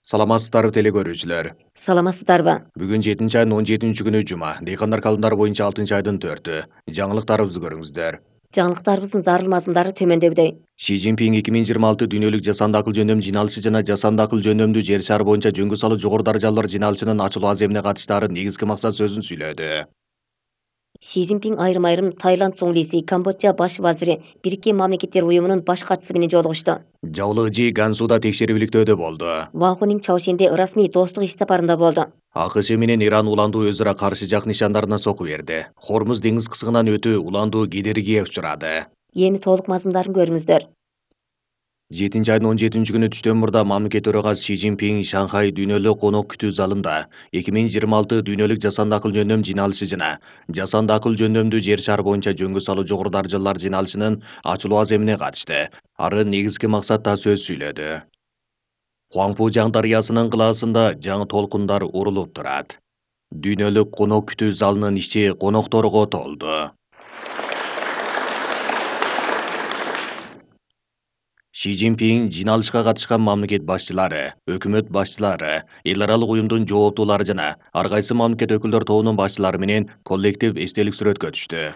Саламатсыздарбы теле көрүүчүлөр. Саламатсыздарбы? Бүгүн 7 айдын 17 күнү жума. Дыйкандар календары боюнча 6 айдын 4-ү. Жаңылыктарыбызды көрүңүздөр. Жаңылыктарыбыздын зарыл мазмундары төмөндөгүдөй. Ши Цзиньпин 2026 дүйнөлүк жасанды акыл жөндөм жиналышы жана жасанды акыл жөндөмдүү жер шары боюнча жөнгө салуу жогору даражалуулар жиналышынын ачылуу аземине катыштаары негизги максат сөзүн сүйлөдү. Ши Цзиньпин айрым Таиланд соңлиси, Камбоджа баш вазири, Бириккен Мамлекеттер Уюмунун баш катчысы менен жолугушту. Жабылык Жи Гансуда текшерүүлүктөөдө болду. Ван Хунин Чаошенде ырасмий достук иш сапарында болду. АКШ менен Иран уландуу өз ара каршы жак нишандарына соку берди. Хормуз деңиз кысыгынан өтүү уландуу кедергиге учурады. Эми толук мазмундарын көрүңүздөр. 7 айдын 17 күнү түштөн мурда мамлекет төрагасы Ши Цзиньпин Шанхай дүйнөлүк конок күтүү залында 2026 дүйнөлүк жасанды акыл жөндөм жиналышы жана жасанды акыл жөндөмдүү жер шары боюнча жөнгө салуу жогору даражалуулар жиналышынын ачылуу аземине катышты. Ары негизги максатта сөз сүйлөдү. Хуангпужаң дарыясынын кылаасында жаңы толкундар урулуп турат. Дүйнөлүк конок күтүү залынын ичи конокторго толду. Ши Цзиньпин жиналышка катышкан мамлекет башчылары, өкмөт башчылары, эл аралык уюмдун жооптуулары жана ар кайсы мамлекет өкүлдөр тобунун башчылары менен коллектив эстелик сүрөткө түштү.